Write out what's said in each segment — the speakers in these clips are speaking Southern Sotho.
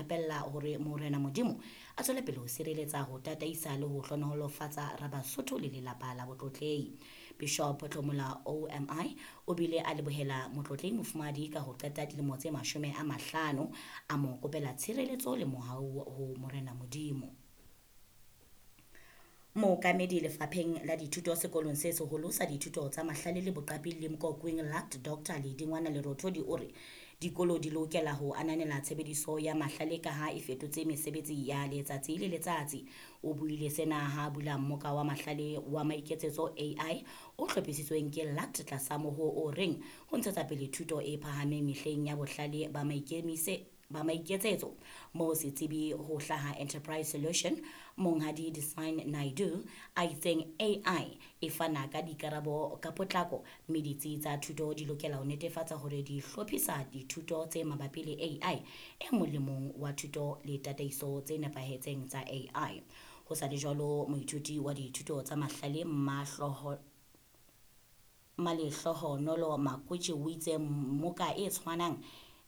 rapella hore Morena Modimo a tswele pele ho sireletsa, ho tataisa le ho hlohonolofatsa Rabasotho le lelapa la Botlotlehi. Bishop Tlomola OMI o bile a lebohela Motlotlehi Mofumahadi ka ho qeta dilemo tse 50, a mo kopela tshireletso le mohau ho Morena Modimo. Mookamedi lefapheng la dithuto sekolong se seholo sa dithuto tsa mahlale le boqapi le Mkokwing LACT Dr. Ledingwana Lerothodi o re dikolo di lokela ho ananela tshebediso ya mahlale ka ha e fetotse mesebetsi ya letsatsi le letsatsi. O buile sena ha bula mmoka wa mahlale wa maiketsetso AI o hlophisitsweng ke LACT tlasa moho o reng ho ntshetsa pele thuto e phahameng mehleng ya bohlale ba maikemise ba maiketsetso. Moo setsebi ho hlaha Enterprise Solution Monghadi Design Naidu a itseng AI e fana ka dikarabo ka potlako, mme ditsi tsa thuto di lokela ho netefatsa hore di hlophisa dithuto tse mabapi le AI e molemong wa thuto le tataiso tse nepahetseng tsa AI. Ho sa le jwalo, moithuti wa dithuto tsa mahlale Malehlohonolo Makwetše o itse mmoka e tshwanang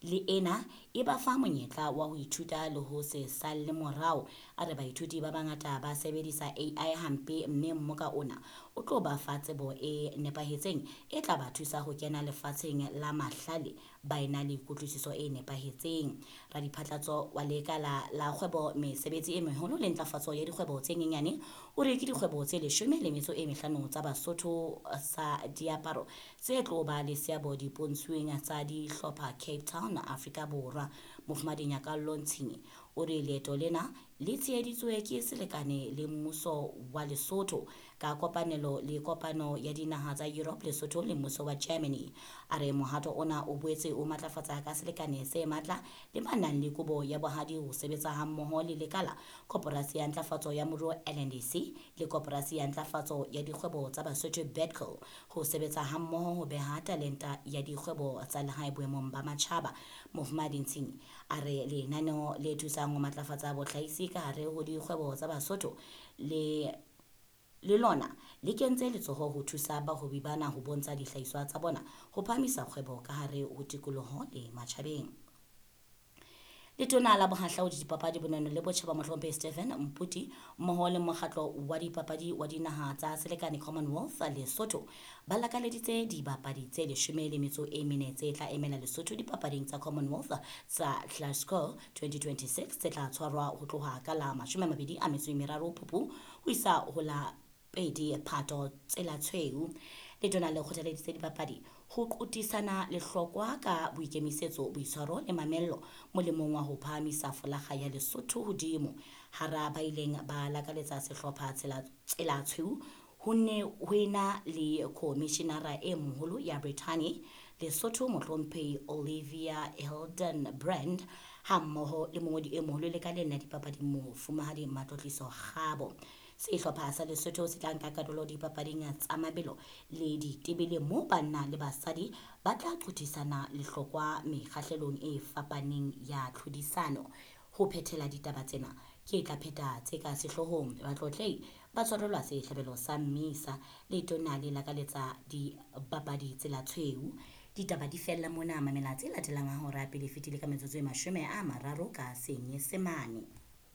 le ena e ba fa monyetla wa ho ithuta le ho se salle morao. A re baithuti ba bangata ba sebedisa AI hampe, mme mmoka ona o tlo ba fa tsebo e nepahetseng e tla ba thusa ho kena lefatsheng la mahlale ba ena le kutlwisiso e nepahetseng. Radiphatlatso wa lekala la kgwebo mesebetsi e meholo le ntlafatso ya dikgwebo tse nyenyane o re ke dikgwebo tse 15 tsa Basotho sa diaparo tse tlo ba le seabo dipontshweng tsa dihlopha Cape Town, Afrika Borwa. Mofumahadi Nyakallo Ntshinyi o re leeto lena le tsheheditswe ke selekane le mmuso wa Lesotho ka kopanelo le kopano ya dinaha tsa Europe, Lesotho le mmuso wa Germany. A re mohato ona o boetse o matlafatsa ka selekane se matla le ba nang le kobo ya bohadi ho sebetsa hammoho le lekala, Koporasi ya Ntlafatso ya Moruo LNDC le Koporasi ya Ntlafatso ya Dikgwebo tsa Basotho BEDCO ho sebetsa hammoho ho beha talenta ya dikgwebo tsa lehae boemong ba matjhaba. Mofumahadi Ntshinyi a re lenaneo le thusang ho matlafatsa bohlahisi ka hare ho dikgwebo tsa Basotho le le lona le kentse letsoho ho thusa bahwebi bana ho bontsha dihlahiswa tsa bona ho phahamisa kgwebo ka hare ho tikoloho le matjhabeng. Letona la Bohahlaudi, Dipapadi, Bonono le Botjhaba Mohlomphehi Stephen Mputi mmoho le mokgatlo wa dipapadi wa dinaha tsa selekane Commonwealth Lesotho ba lakaleditse dibapadi tse 14 tse tla emela Lesotho dipapading tsa Commonwealth tsa Glasgow 2026 tse tla tshwarwa ho tloha ka la 23 Phupu ho isa ho la 2 Phato tsela tshweu. Letona le kgothaleditse dibapadi ho qotisana lehlokwa ka boikemisetso, boitshwaro le mamello molemong wa ho phahamisa folaga ya Lesotho hodimo. Hara ba ileng ba lakaletsa sehlopha tsela tshweu ho ne ho ena le khomishenara e moholo ya Brithani Lesotho Mohlomphehi Olivia Hildenbrand hammoho le mongodi e moholo lekaleng la dipapadi Mofumahadi Matlotliso Kgabo. Sehlopha sa Lesotho se tla nka karolo dipapading tsa mabelo le ditebele moo banna le basadi ba tla qothisana lehlokwa mekgahlelong e fapaneng ya tlhodisano. Ho phethela ditaba tsena ke tla pheta tse ka sehloohong. Batlotlehi ba tshwarelwa sehlabelo sa mmisa, letona le lakaletsa dibapadi tsela tshweu. Ditaba di fella mona, mamela tse latelang ha hora pele fetile ka metsotso e 30 ka Senyesemane.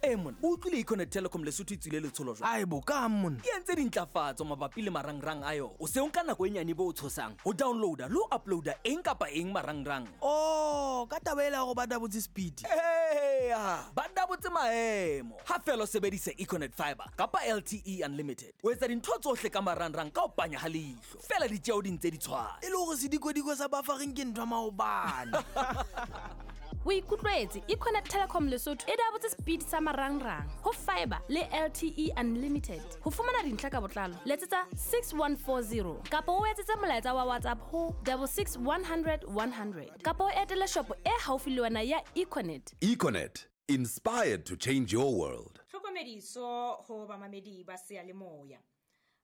E monna, o utlwile Econet Telecom Lesotho e tswile letsholo jwang? Ae bo, kang monna? E entse dintlafatso mabapi le marangrang a yona. O se o nka nako e nyane bo o tshosang ho downloada le ho uploada eng kapa eng marangrang. Oh, ka taba ela ya hore ba dabotse speed. Eya, ba dabotse maemo. Ha feela o sebedisa Econet Fiber kapa LTE Unlimited, o etsa dintho tsohle ka marangrang ka ho panya ha leihlo. Feela ditjeo di ntse di tshwana. E le hore sedikodiko sa buffering ke ntho ya maobane. O ikutlwetse, Econet Telecom Lesotho e dabotse speed sa marangrang ho fiber le LTE Unlimited. Ho fumana dintlha ka botlalo, letsetsa 6140 kapa o etsetse molaetsa wa WhatsApp ho 66 100 100 kapa o etele shopo e haufi le wena ya Econet. Econet, inspired to change your world. Tlhokomediso ho bamamedi ba seyalemoya.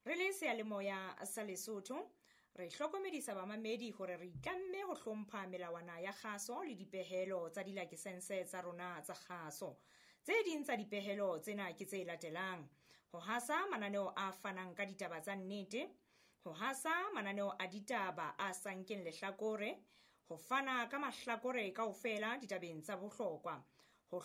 Re le seyalemoya sa Lesotho, re hlokomedisa bamamedi hore re itlamme ho hlompha melawana ya kgaso le dipehelo tsa dilakesense tsa rona tsa kgaso. Tse ding tsa dipehelo tsena ke tse latelang: ho hasa mananeo a fanang ka ditaba tsa nnete, ho hasa mananeo a ditaba a sa nkeng lehlakore, ho fana ka mahlakore kaofela ditabeng tsa bohlokwa, ho